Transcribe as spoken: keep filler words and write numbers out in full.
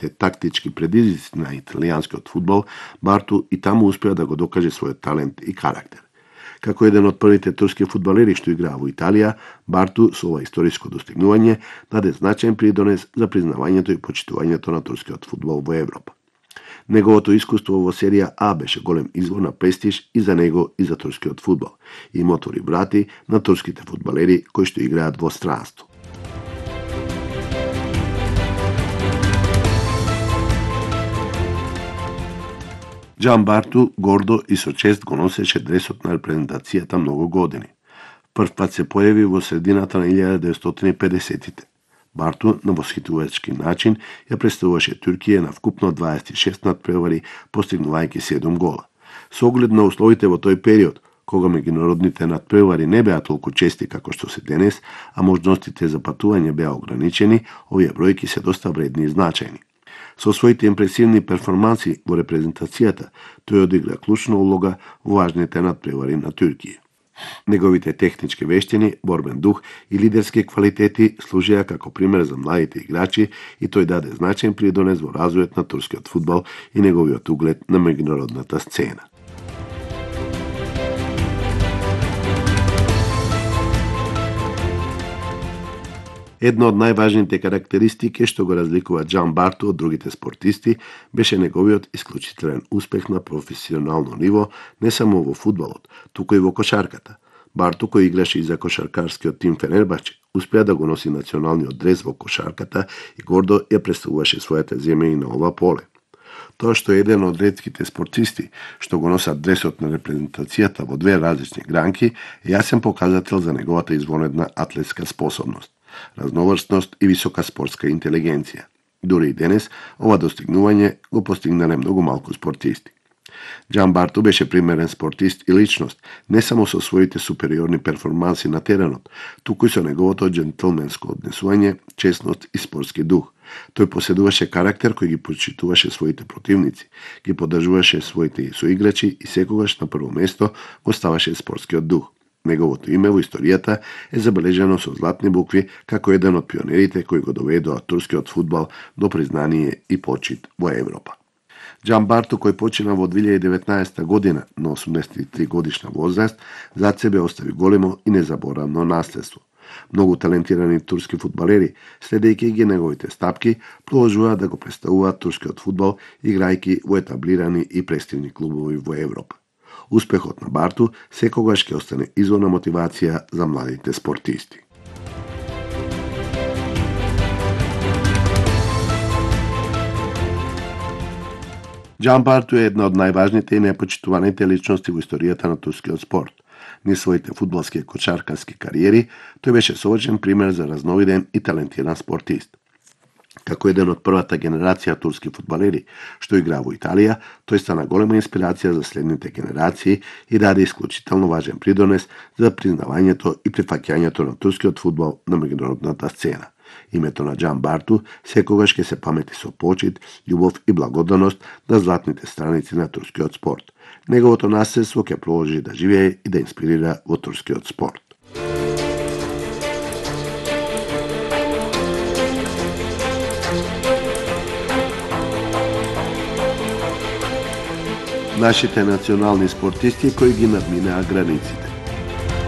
те тактички предизвици на италијанскиот фудбал, Барту и таму успеа да го докаже својот талент и карактер. Како еден од првите турски фудбалери што играа во Италија, Барту со ова историско достигнување даде значаен придонес за признавањето и почитувањето на турскиот фудбал во Европа. Неговото искуство во серија А беше голем извор на престиж и за него и за турскиот фудбал и им отвори врати на турските фудбалери кои што играат во странство. Џан Барту гордо и со чест го носеше дресот на репрезентацијата многу години. Прв пат се појави во средината на илјада деветстотини и педесетите. Барту на восхитувачки начин ја представуваше Туркија на вкупно дваесет и шест надпревари, постигнувајќи седум гола. Со оглед на условите во тој период, кога меѓународните надпревари не беа толку чести како што се денес, а можностите за патување беа ограничени, овие бројки се доста вредни и значајни. Со своите импресивни перформанси во репрезентацијата, тој одигра клучна улога во важните надпревари на Туркија. Неговите технички вештини, борбен дух и лидерски квалитети служеа како пример за младите играчи и тој даде значаен придонес во развојот на турскиот фудбал и неговиот углед на меѓународната сцена. Една од најважните карактеристики што го разликува Џан Барту од другите спортисти беше неговиот исклучителен успех на професионално ниво не само во фудбалот, туку и во кошарката. Барту, кој играше и за кошаркарскиот тим Фенербаче, успеа да го носи националниот дрес во кошарката и гордо ја представуваше својата земја и на ова поле. Тоа што е еден од ретките спортисти што го носат дресот на репрезентацијата во две различни гранки е јасен показател за неговата извонедна атлетска способност, разноврстност и висока спортска интелигенција. Дури и денес, ова достигнување го постигнале многу малку спортисти. Џан Барту беше примерен спортист и личност, не само со своите супериорни перформанси на теренот, туку и со неговото џентлменско однесување, честност и спортски дух. Тој поседуваше карактер кој ги почитуваше своите противници, ги поддржуваше своите соиграчи и секогаш на прво место го ставаше спортскиот дух. Неговото име во историјата е забележано со златни букви како еден од пионерите кои го доведоа турскиот фудбал до признание и почит во Европа. Џан Барту, кој почина во две илјади и деветнаесетта година на осумдесет и три годишна возраст, зад себе остави големо и незаборавно наследство. Многу талентирани турски фудбалери, следејќи ги неговите стапки, продолжуваат да го представуваат турскиот фудбал, играјќи во етаблирани и престижни клубови во Европа. Успехот на Барту секогаш ќе остане извор на мотивација за младите спортисти. Џан Барту е една од најважните и најпочитуваните личности во историјата на турскиот спорт. Низ своите фудбалски и кошаркарски кариери, тој беше совршен пример за разновиден и талентиран спортист. Како еден од првата генерација турски фудбалери што игра во Италија, тој стана голема инспирација за следните генерации и даде исклучително важен придонес за признавањето и прифаќањето на турскиот фудбал на меѓународната сцена. Името на Џан Барту секогаш ќе се памети со почит, љубов и благодарност на златните страници на турскиот спорт. Неговото наследство ќе продолжи да живее и да инспирира во турскиот спорт. Нашите национални спортисти кои ги надминаа границите.